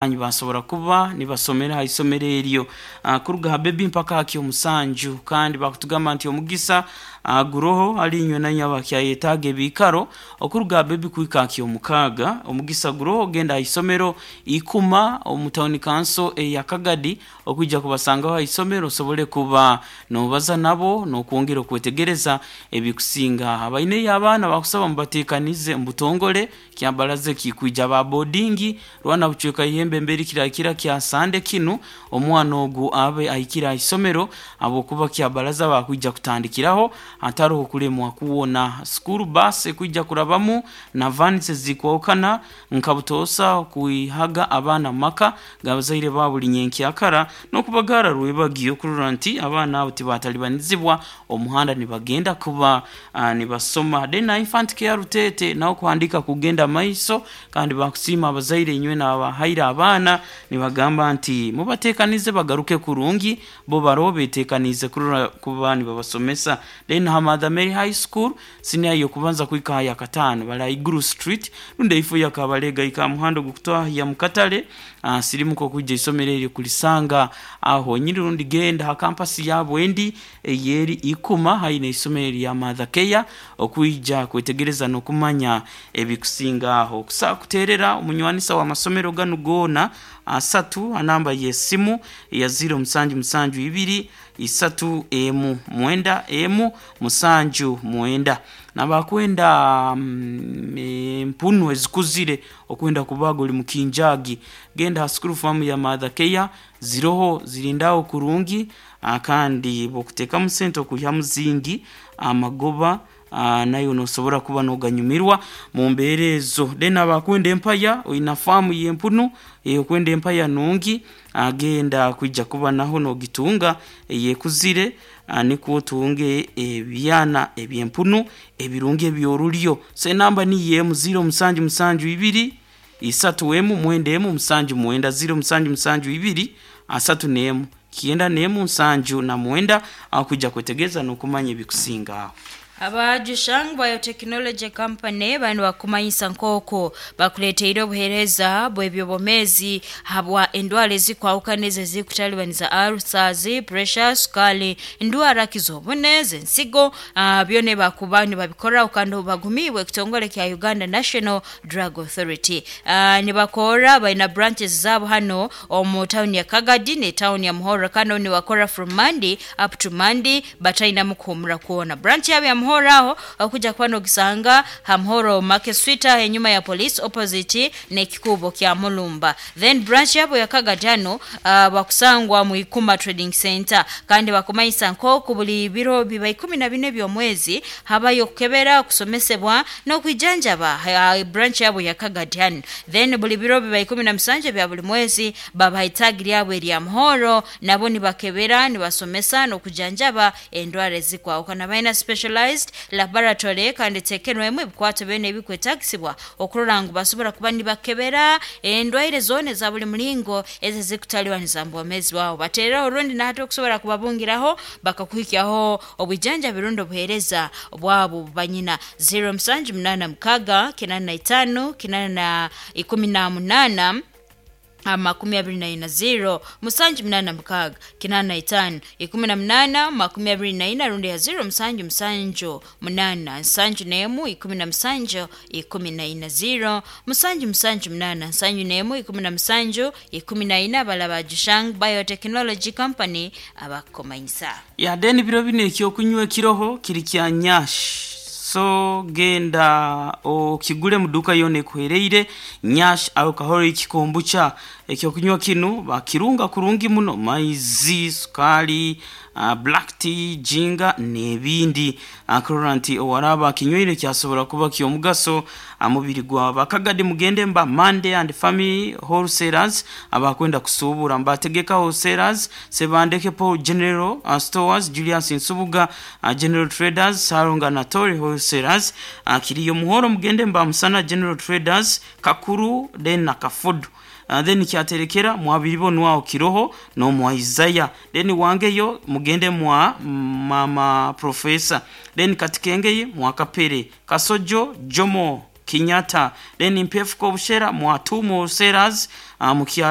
Nibasobora kuba nibasomera ha isomero eryo kuruga ha bebi mpaka ha ky'omusanju. Kandi bakutugamba nti omugisa guroho hali inywe nainywe abakyayetaaga ebiikaro okuruga ha bebi kuhika ha ky'omukaaga. Omugisa guroho genda ha isomero Ikuma omu tawuni kanso eya Kagadi okwija kubasangaho ha isomero osobole kuba noobaza nabo n'okwongera okwetegereza ebikusinga. Abaineyo abaana bakusaba mubateekanize omu butongole kyabaraza ekikwija ba boarding rwana bucweka ihembe emberi kirakira kya Sande kinu omwana ogu abe ahikire aha isomero habwokuba kyabaraza bakwija kutandikiraho hataroho kulemwa kwona. School bus ekwija kurabamu na vans ezikwahukana nka butoosa okwihaga abaana mu maka g'abazaire baabo buri nyenkyakara n'okubagaara rwebagyo kurora nti abaana abo tibatalibanizibwa omuhanda nibagenda kuba nibasoma. Then na Infant Care Ruteete naho kuhandiika kugenda maiso kandi bakusiima abazaire inywena abahaire abaana nibagamba nti mubateekanize bagaruke kurungi bo baroho beteekaniize kurora kuba nibabasomesa. Then ha Mother Mary High School siniya y'okubanza kuhika aha yakataano bari Iguru Street rundi eifo ya Kabalega hika aha muhanda ogukutwahya mu katare sirimuka okwija eisomero eryo kurisanga aho honyini rundi genda ha kampasi yaabo endi eyeri Ikuma haihi n'eisomero erya Mother Care okwija kwetegereza n'okumanya ebikusinga aho. Okusobola kuteerera omunywanisa w'amasomero ganu goona asatu ha namba y'esimu eya ziiro musanju musanju ibiri isatu emu mwenda emu musanju mwenda. N'abakwenda empunu ezikuzire okwenda kubaaga ori mukinjaagi, genda ha school farm ya Mother Care ziroho zirindaho kurungi kandi bw'okuteekamu sente okwihamu zingi amagoba naiwe noosobora kuba nooganyumirwa mu mbeera ezo. Then abakwenda empaya oina faamu y'empunu okwenda empaya nungi genda kwija kuba naho noogitunga ey'ekuzire nikwo otunge ebyana eby'empunu ebirungi eby'oruryo. So enamba niyo emu ziiro musanju musanju ibiri isatu emu mwenda emu musanju mwenda, ziiro musanju musanju ibiri asatu n'emu kyenda n'emu nsanju na mwenda aho kwija kwetegereza n'okumanya ebikusinga aho. Aba Jushang Biotechnology Company banu bakumanyisa nk'oku bakuleeteire obuheereza bw'eby'obwomeezi habwa endwara ezikwahukana ezo ezikutalibaniza ulcers, pressure, sukaali, ndwara ki z'obune, z'ensigo, byona ebi bakuba nibabikoraho kandi obu bagumiibwe ekitongole kya Uganda National Drug Authority. Nibakorra baina branches zaabo hanu omu tawuni ya Kagadi ne tawuni ya Muhorro kandi obu nibakora from Monday up to Monday batainamu kuhumura kwona. Branch yaabo ya Muhorro aho okuja kuba nogisanga ha Muhorro Market Street aho enyuma ya police opposite n'ekikuubo kya Mulumba. Then branch yaabo ya Kagadi hanu bakusangwa mu Ikuma Trading Centre kandi bakumanyisa nk'oku buli biro biba 14 eby'omwezi habayo okukebera, okusomesebwa n'okwijanjaba ha branch yaabo ya Kagadi hanu. Then buli biro biba 17 ebya buli mwezi babaha itaagi lyabo erya Muhorro nabo nibakebera, nibasomesa n'okujanjaba endwara ezikwahukana. Baine specialized laboratory kandi eteekerwemu ebikwato byona ebikwetaagisibwa okurora ngu basobora kuba nibakebera endwaire zoona eza buli muringo ezo ezikutalibaniza mu bwomeezi bwawe. Bateereho rundi nahati okusobora kubabungiraho bakakuhikyaho obwijanjabi rundi obuheereza bwabo obu banyina. Ziiro musanju munaana mukaaga kinaana na itaano kinaana na ikumi na munaana 24 ziiro musanju munaana mukaaga kinaana na itaano 18 24 rundi ya ziiro musanju musanju munaana nsanju n'emu 17 14 ziiro musanju musanju munaana nsanju n'emu 17 14 abalaba ba Jushang Biotechnology Company abakukumanyisa. Ya then biro binu ekyokunywa ekiroho kiri kya Nyash so genda okigure mu duka yoona ekuhereire Nyash Alcoholic Kombucha. Ekyokunywa kinu bakirunga kurungi muno maizi, sukaali, black tea, jinga n'ebindi kurora nti owaraaba akinywire kyasobora kuba ky'omugaso aha mubiri gwawe. Bakagadi mugende mba Monday and Family Wholesalers abakwenda kusuubura mbategeka Wholesalers, Sebandeke Paul General Stores, Julius Nsubuga General Traders, Salonga Natori Wholesalers, Kiriyo Muhoro mugende mba Musana General Traders, Kakuru then na Kafudu. Then kyaterekera mwabiribonwaho kiroho n'omwa Isaiah. Then wangeyo mugende mwa mama Professor. Then katikengeye mwa Kapere, Kasojo, Jomo Kenyatta. Then Mpefuko Obushera mwa Tumo Wholesalers, Mukyara